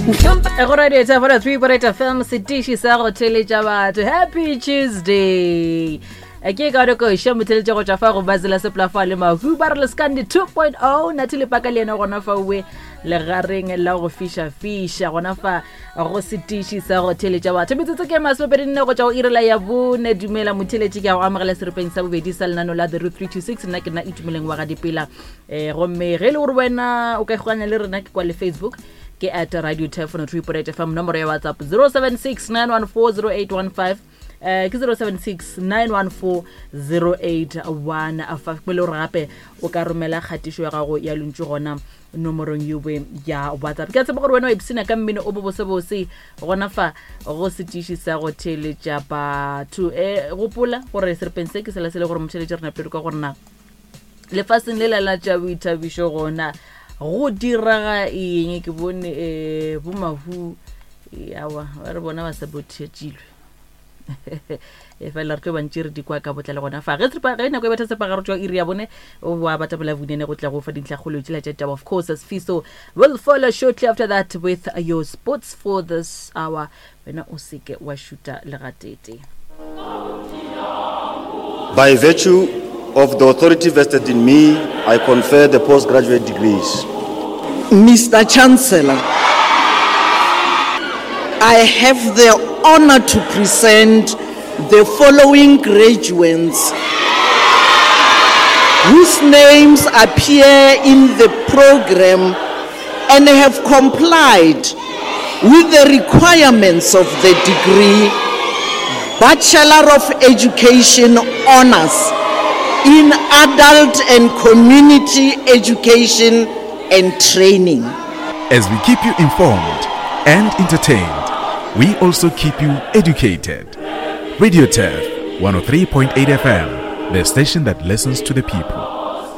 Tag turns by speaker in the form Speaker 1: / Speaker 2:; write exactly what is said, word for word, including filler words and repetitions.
Speaker 1: Go radio tafora three point eight F M, setiši sa go theletša batho. Happy Tuesday. Ke ka re koša motheletša go tšwa fa go Bazela Seplafa le Mahu ba re Leskandi two point oh. Nathi le paka le yena gona fa owe legareng la go fiša-fiša gona fa go setiši sa go theletša batho. Metsotso ke masomepedi nne go tšwa go irela ya bone. Dumela motheletši, ke a go amogela seripeng sa bobedi sa lenano la The Root three two six. Nna ke nna Itumeleng wa ga Dipela. um gomme ge e le gore wena o ka ikgokanya le rena, ke kwa le Facebook ke at Radio Telephone three point eight F M, nomoro ya WhatsApp zero seven six nine one four zero eight one five, eh ke zero seven six nine one four zero eight one five. Ke le gore gape o ka romela kgatišo ya gago ya lentšu gona nomorong yowe ya WhatsApp. Ke a tseba gore wena wa ipsina ka mmino o bobosebose gona fa go setiši sa go theletša batho. um gopola gore seripeng se ke sela se le gore motheletše re napele ka gorena lefaseng le la la tša boithabišo gona go diraga eng. Ke bone um bomahu awa ba re bona ba sa bothetšilwe, e fela re tlo bantši re di kwa ka botlalo gona fa ge seripa- ge nako e betha sepagaro tšwa iri ya bone wa batabela vunene go tla go fa dintlhakgolo tšela tša taba. Of course, as Fiso will follow shortly after that with your sports for this hour. Wena o seke wa šuta legatete.
Speaker 2: By virtue of the authority vested in me, I confer the postgraduate degrees.
Speaker 3: Mister Chancellor, I have the honor to present the following graduates whose names appear in the program and have complied with the requirements of the degree Bachelor of Education Honors in Adult and Community Education and Training.
Speaker 4: As we keep you informed and entertained, we also keep you educated. Radio Turf one oh three point eight F M, the station that listens to the people.